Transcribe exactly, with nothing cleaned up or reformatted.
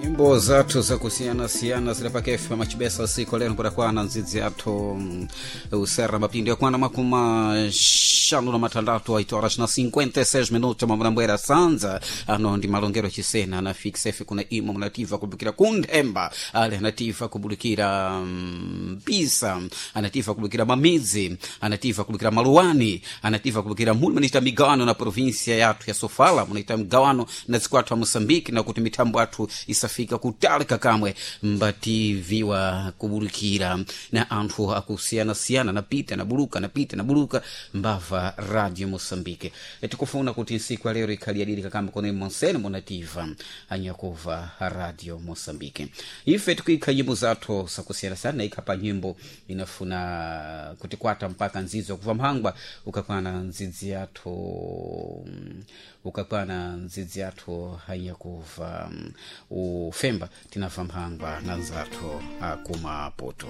Nyimbo zathu zakusiyana-siyana zili pakefe machibesa siku lero kudakwana nzidzi yathu mm, usera mapindu yakwana makumi xanu na matandatu oito horas na cinquenta e seis minutos. Mamulambwera sanza ano ndi malongero chisena na fixef kuna imo munativa kubukira kunthemba, ali anativa kubulukira mpisa, anativa kubulukira mamidzi, anativa kubulukira maluwani, anativa kubulukira muli munaita migawano na província yathu ya Sofala, munaita migawano na dziko athu a Moçambique, na kuti mithambo athu isafika kutali kakamwe mbativiwa kubulukira na anthu akusiyana-siyana napita nabuluka napita nabuluka mbava Radio Moçambique. E, tikufuna kuti nsiku ya lero ikhali yadiri kakamwe kone monsene munativa anyakuva Radio Moçambique. Ife tikuikha nyimbo zathu zakusiyana-siyana naikha pa nyimbo inafuna kutikwata mpaka nzidzo yakuva mphangwa ukakwana nzidzi yathu ukakwana nzidzi yathu hanyakuva ufemba tinabva mphangwa na nzathu akumaputo.